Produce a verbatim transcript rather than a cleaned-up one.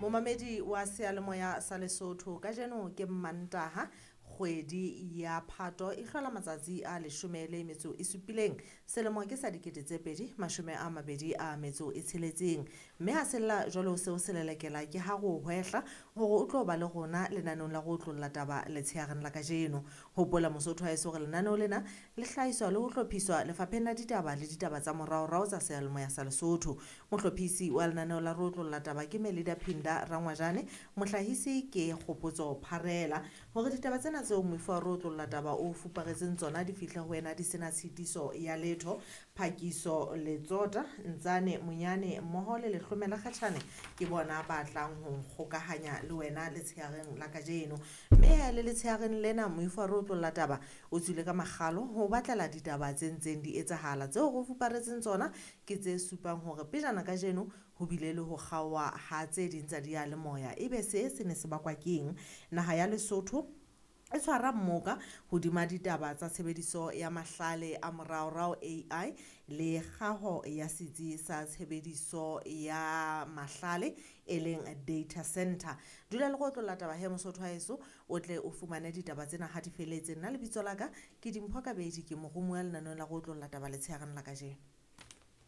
Momamedi wa seyalemoya sa Lesotho, kajeno ke Mmantaha, kgwedi ya Phato e hlola matsatsi a leshome le metso e supileng, selemo ke sa dikete tse pedi mashome a mabedi a metso e tsheletseng. Mme ha sella jwalo seo se lelekela ke ha re o hwehla hore o tlo ba le rona lenaneong la go otlolla taba letsheareng la kajeno. Hopola Mosotho wa heso hore lenaneo lena le hlahiswa le ho hlophiswa lefapheng la ditaba le ditaba tsa moraorao tsa seyalemoya sa Lesotho. Mohlophisi wa lenaneo la re otlolla taba ke Melida Phinda Rangwajane, mohlahisi ke Kgopotso Pharela. Hore ditaba tsena tseo moifo wa re otlolla taba o fuparetseng tsona di fihle ho wena di sena tshitiso ya letho, Phakiso Letsota, Ntsane Monyane mmoho le Lehlomela Kgatjhane ke bona ba tlang ho nkgokahanya le wena letsheareng la kajeno. Mme le letsheareng lena moifo wa re otlolla taba o tswile ka makgalo ho batlela ditaba tse ntseng di etsahala. Tseo re fuparetseng tsona ke tse supang hore pejana kajeno ho bile le ho kgaoha ha tse ding tsa diyalemoya. Ebe se se ne se bakwa keng? Naha ya Lesotho e tshwara mmoka hodima ditaba tsa tshebediso ya mahlale a moraorao A I le kgaho ya setsi sa tshebediso ya mahlale e leng data center. Dula le go otlolla taba he Mosotho wa heso, o tle o fumane ditaba tsena ha di feletse. Nna lebitso la ka ke Dimpho Kabedi, ke moromuwa lenaneong la go otlolla taba letsheareng la kajeno.